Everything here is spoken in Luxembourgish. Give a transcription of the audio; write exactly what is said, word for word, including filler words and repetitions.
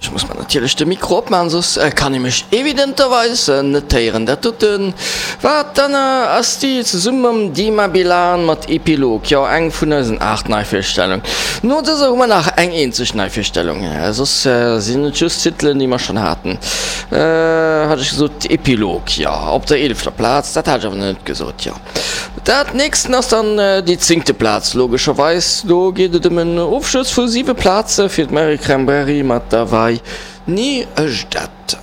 Ech muss mer natierlech de Mikro opmaachen, soss kann ee mech evidenterweis net héieren. Dat dote war d'Anna Asti zesumme mam Dima Bilan mat Epilog, jo, eng vun eisen aacht Neivirstellungen. No dëser hu mer nach eng eenzeg Neivirstellung, soss sinn et just Titelen, déi mer schonn haten. Hat ech gesot Epilog, jo, op der eelefter Plaz, dat hat ech awer nach net gesot, jo. Dat nächsten ass dann déi zéngte Plaz, logescherweis. Do geet et ëm en Ofschloss vu siwe Plaze fir d'Mary Cranberry mat Dawaj ni ždat.